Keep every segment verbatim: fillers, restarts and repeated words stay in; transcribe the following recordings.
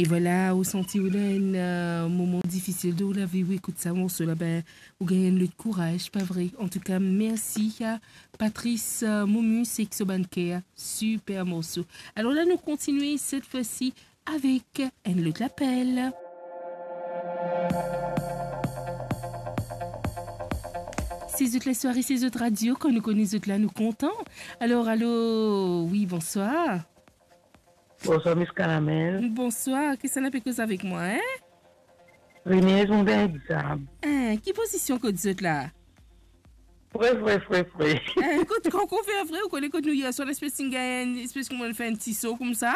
E vwala, ou santi ou dan enn, eh, moman difisil dan ou lavi, ou ekout sa morso la, be, ou gagn enn lot kouraz, pa vre? Antouka, mersi a Patrice, eh, Momus ek so bann ker. Siper morso. Alor la, nou kontigne set fwa si avek enn lot lapel. Se zot leswar, se zot radio, kan nou kone zot la, nou kontan. Alor, alo, wi, bonswar. Bonswar, Miss Karamel. Bonswar, kisannla pe koz avek mwa, en? Rinez, mo gagn exam. En, ki pozision kot zot la? Fre, fre, fre, fre. En, kot, kan ou fer fre, ou kone kot nou yer swar, lespes ti gagn, lespes kouma fer enn ti so koumsa?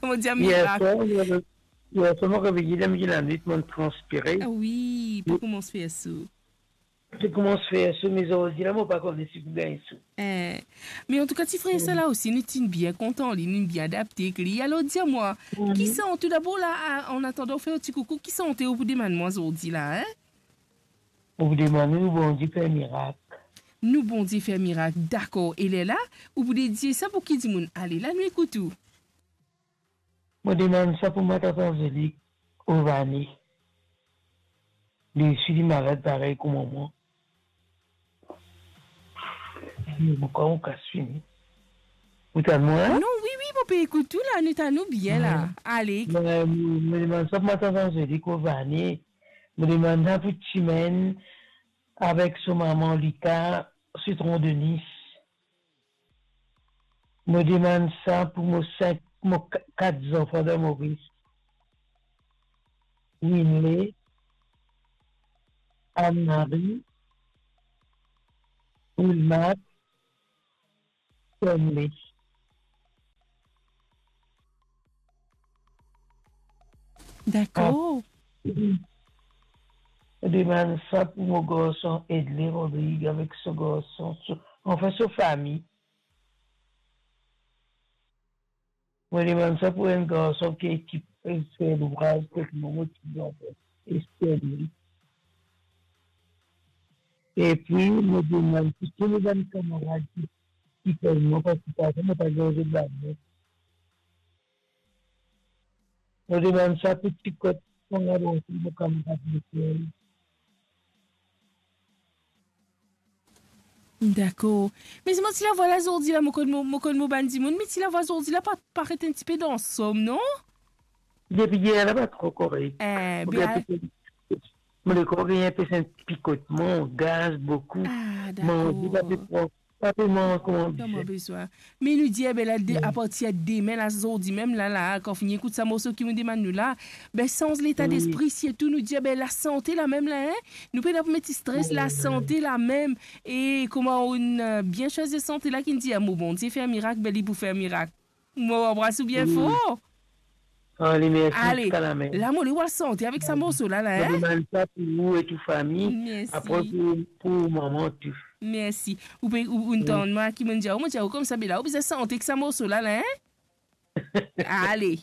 Mo dir, yer mirak. Swar, mo, yer swar, mo reveye, dan milie lanwit, mo transpire. Ah wi, pe koumans fer so. Ti koumans fer so, me zordi la, mo pa kone si pou gagn so. Eh, me antouka, ti frer sa la osi, nou ti bien kontan li, nou bien adapte ek li. Alor, dir mwa, mhm, ki sante, tou dabor la, a, an atandan ou fer ou ti koukou, ki sante ou pou demann mwa zordi la, en? Mo pou demann ou, Bondie fer mirak. Nou Bondie fer mirak, dakor. E lerla, ou pou dedie sa pou ki dimoun? Ale, la nou ekout ou. Mo demann sa pou mo tante Anzelik Ovani. Li osi, li malad parey kouma mwa. Mo krwar mo kas fini. Ou tann mwa la? Non, wi, wi, mo pe ekout ou la, nou tann ou bien la. Wi. Ale. Mo, mo, mo demann sa pou mo tante Anzelik Ovani. Mo demann sa pou Timenn avek so mama Lita, Sitron Denis. Mo demann sa pou mo sink, mo ka-, kat zanfan dan Moris. Winley, Anne-Marie, Wilmar, Stanley. Dakor. Ah. Mo demann sa pou mo garson Edley Rodrigue avek so garson, so, anfin, so fami. Mo demann sa pou enn garson ki, ki pe fer louvraz kot mwa, mo ti zanfan, Stanley. Epi, mo demann pou tou mo bann kamarad ki, ki konn mwa, parski parfwa mo pa gagn zot lanon. Mo demann sa pou ti kot, mo kamarad lekel. Dakor. Me mo ti lavwa la zordi la, mo konn mo, mo konn mo bann dimoun, me ti lavwa zordi la pa, paret enn tipe dan som, non? Depi yer la pa tro korek. Eh, mo be, gagn a- enpe, mo lekor gagn enpe enn pikotman, gaz boukou. Ah, manze pa pe dakor. Pran, pa pe manz kouma bizin. Kouma bizin. Me nou dir, be la, de, wi, apartir demin la, zordi mem la, la, kan fini ekout sa morso ki mo demann nou la, be, sanz leta, wi, despri, sirtou nou dir, be, lasante la mem la, en? Nou pena pou met stres, wi, lasante la mem. E kouma ou'nn, eh, bien swazir sante la, ki'nn dir, mo Bondie fer mirak, be, li pou fer mirak. Mo anbras ou bien for. Ale, mersi, ale, ziska lamem. La, mo le al sante avek sa morso la, la, en? Mo demann sa pou ou e tou fami. Mersi. Apre pou, pou mama tou. Mersi. Ou pe, ou, ou tann mwa ki mo'nn dir, mo dir, koumsa, be la, ou bizin sante ek sa morso la, la, en? Ale.